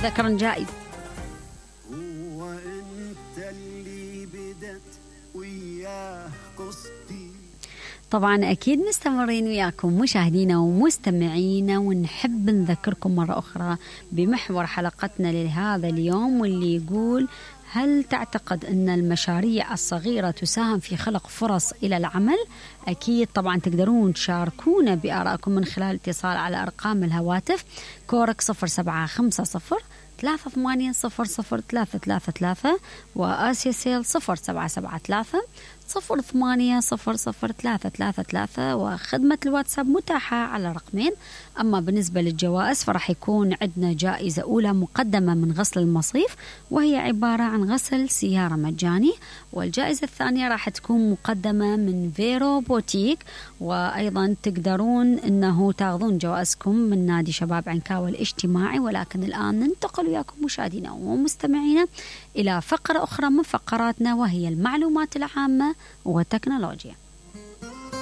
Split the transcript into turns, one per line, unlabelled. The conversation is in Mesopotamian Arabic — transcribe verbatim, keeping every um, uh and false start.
ذكر جائز.
هو انت اللي بدت وياه قصتي.
طبعا أكيد مستمرين وياكم مشاهدينا ومستمعينا، ونحب نذكركم مرة أخرى بمحور حلقتنا لهذا اليوم، واللي يقول: هل تعتقد أن المشاريع الصغيرة تساهم في خلق فرص إلى العمل؟ أكيد طبعا تقدرون تشاركونا بآرائكم من خلال اتصال على أرقام الهواتف كورك صفر سبعة خمسة صفر ثلاثة ثمانية صفر صفر ثلاثة ثلاثة ثلاثة، وآسيا سيل صفر سبعة سبعة ثلاثة صفر ثمانية صفر صفر ثلاثة ثلاثة ثلاثة، وخدمة الواتساب متاحة على رقمين. أما بالنسبة للجوائز فرح يكون عندنا جائزة أولى مقدمة من غسل المصيف، وهي عبارة عن غسل سيارة مجاني، والجائزة الثانية راح تكون مقدمة من فيرو بوتيك. وأيضا تقدرون أنه تاخذون جوائزكم من نادي شباب عنكاوي الاجتماعي. ولكن الآن ننتقل وياكم مشاهدينا ومستمعينا إلى فقرة أخرى من فقراتنا، وهي المعلومات العامة والتكنولوجيا.